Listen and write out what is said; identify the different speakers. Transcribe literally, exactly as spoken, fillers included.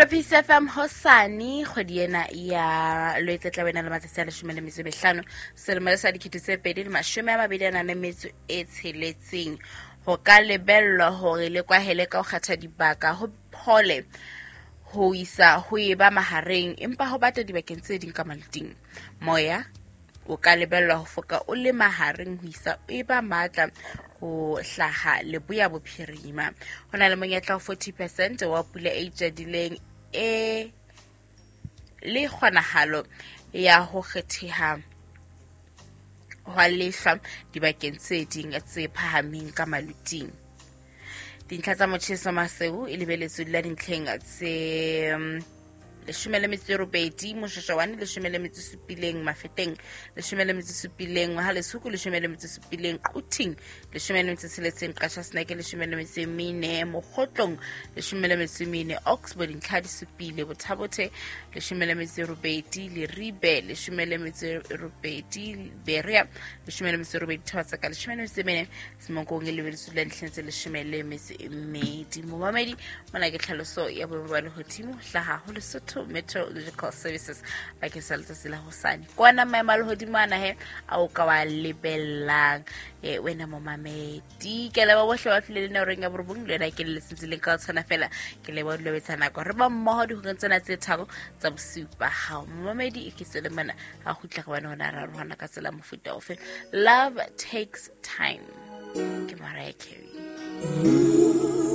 Speaker 1: Mamelodi Peace F M hosane kgwedi ena ya Lwetse tla bena le matsatsi a leshome le metso e mehlano selemo sa dikete tse pedi le mashome a mabedi a nang le metso e tsheletseng. Ho ka lebellwa hore le kwahele ka ho kgetha dibaka ho phole ho isa ho e ba mahareng, empa ho bata dibakeng tse ding ka maluting. Moya o ka lebellwa ho foka o le mahareng ho isa e ba matla ho hlaha leboya bophirima. Ho na le monyetla wa forty percent wa pula e itjadileng e le kgonahalo ya ho kgetheha hwa lehlwa dibakeng tse ding tse phahameng ka maluting. Dintlha tsa motjheso Maseru e lebeletswe dula dintlheng tse leshome le metso e robedi, Moshoeshoane leshome le metso e supileng, Mafeteng leshome le metso e supileng, Mohalesuku leshome le metso e supileng, Quthing leshome le metso e tsheletseng, Qacha's Nek leshome le metso e mene, Mokgotlong leshome le metso e mene, Oxford dintlha di supile, Bothabothe leshome le metso e robedi, Leribe leshome le metso e robedi, Berea leshome le metso e robedi, Thobatseka leshome le metso e mene, Semonkong e lebeletswe dula dintlheng tse leshome le metso e mmedi. Momamedi, mona ke tlhaloso ya boemo ba lehodimo hlaha ho Lesotho Meteorological Services bakeng sa letsatsi la hosane. Kwana maemo a lehodimo ana he a o ka wa lebellang eh wena momamedi. Ke leboha bohle ba tlile le nna horeng ya borobong, le wena ke le letsetsileng ka ho tshwana fela. Ke leboha dilo betsa nako re ba mmoho dihoreng tsena tse tharo tsa bosiu ba hao. Momamedi e ke tswele mona ha kgutla re bone hona ra rohana ka tsela mofuta ofe. Love Takes Time ke Mariah Carey.